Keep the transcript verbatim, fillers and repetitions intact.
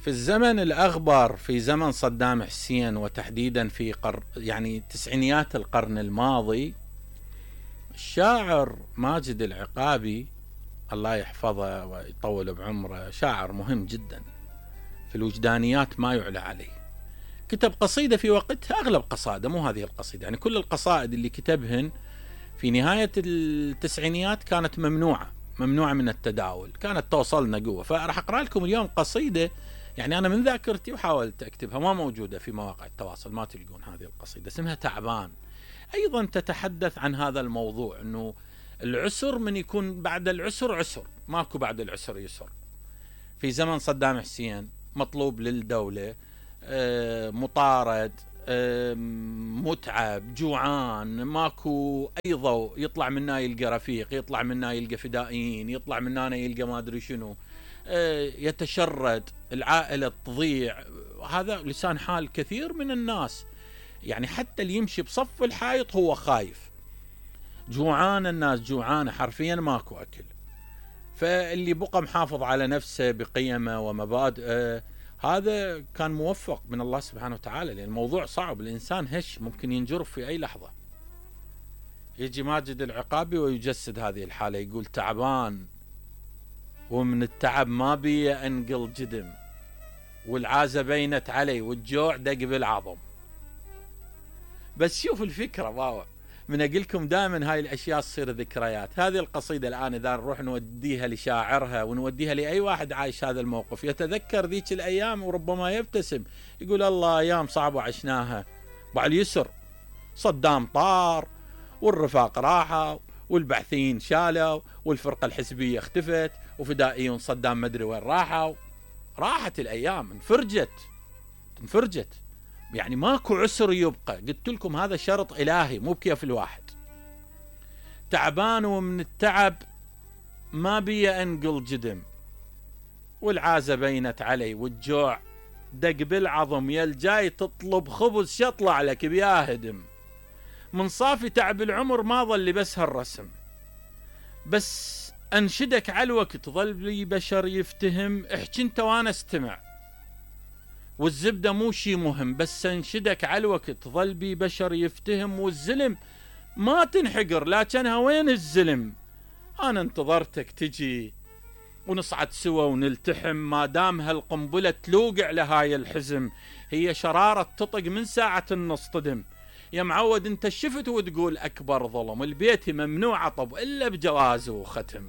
في الزمن الأغبر في زمن صدام حسين، وتحديدا في قر يعني تسعينيات القرن الماضي، الشاعر ماجد العقابي الله يحفظه ويطول بعمره، شاعر مهم جدا في الوجدانيات ما يعلى عليه. كتب قصيدة في وقتها، أغلب قصائده مو هذه القصيدة، يعني كل القصائد اللي كتبهن في نهاية التسعينيات كانت ممنوعة ممنوعة من التداول، كانت توصلنا قوة. فراح أقرأ لكم اليوم قصيدة يعني أنا من ذاكرتي وحاولت أكتبها، ما موجودة في مواقع التواصل، ما تلقون هذه القصيدة، اسمها تعبان. أيضا تتحدث عن هذا الموضوع، أنه العسر من يكون بعد العسر عسر، ماكو بعد العسر يسر. في زمن صدام حسين مطلوب للدولة، مطارد، متعب، جوعان، ماكو أي ضوء، يطلع منا يلقى رفيق، يطلع منا يلقى فدائيين، يطلع منا يلقى ما أدري شنو، يتشرد، العائلة تضيع. هذا لسان حال كثير من الناس، يعني حتى اللي يمشي بصف الحائط هو خايف. جوعان، الناس جوعانة حرفيا، ماكو أكل. فاللي بقى محافظ على نفسه بقيمه ومبادئه هذا كان موفق من الله سبحانه وتعالى، لأن الموضوع صعب، الإنسان هش ممكن ينجرف في أي لحظة. يجي ماجد العقابي ويجسد هذه الحالة، يقول تعبان ومن التعب ما بي أنقل جدم، والعازة بينت علي والجوع دق بالعظم. بس شوف الفكرة باوا، من أقولكم دائما هاي الأشياء تصير ذكريات. هذه القصيدة الآن إذا نروح نوديها لشاعرها ونوديها لأي واحد عايش هذا الموقف، يتذكر ذيك الأيام وربما يبتسم، يقول الله أيام صعبة عشناها. بعد اليسر صدام طار، والرفاق راحوا، والبعثيين شالوا، والفرقة الحزبية اختفت، وفدائيون صدام مدري وين راحوا. راحت الأيام، انفرجت انفرجت يعني ماكو عسر يبقى. قلت لكم هذا شرط إلهي مو بكيف الواحد. تعبان ومن التعب ما بي أنقل جدم، والعازة بينت علي والجوع دق بالعظم. يا الجاي تطلب خبز شطلع لك بيا هدم، من صافي تعب العمر ما ظل بس هالرسم. بس أنشدك على الوقت ظل لي بشر يفتهم، احكي انت وانا استمع، والزبدة مو شي مهم. بس انشدك على الوقت ظل بي بشر يفتهم، والزلم ما تنحقر لكنها وين الزلم. انا انتظرتك تجي ونصعد سوا ونلتحم، ما دام هالقنبلة تلوقع لهاي الحزم. هي شرارة تطق من ساعة النصطدم، يا معود انت شفت وتقول اكبر ظلم، البيت ممنوع عطب الا بجوازه وختم.